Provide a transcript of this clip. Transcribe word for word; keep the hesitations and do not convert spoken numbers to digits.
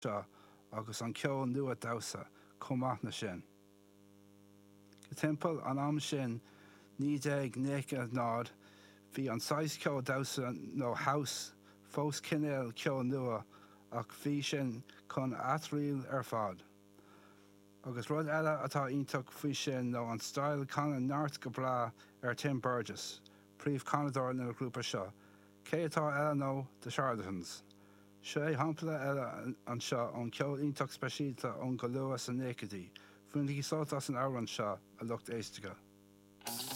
seo agus an ceol nua damhsa chomh maith leis sin. Go timpeall an am sin naoi déag nócha náid bhí an saghas ceol damhsa nó house fós cineál ceol nua ach bhí sin chun athrú ar fad. Agus rud eile atá iontach faoi sin nó an style canadh neart go breá ar Tim Burgess, príomhchanadóir na grúpa seo, cé atá eile nó The Charlatans. Seo é shampla eile anseo ón ceol iontach speisialta ón go luath sna nóchaidí, Bainigí sult as an amhrán seo a lucht éisteachta.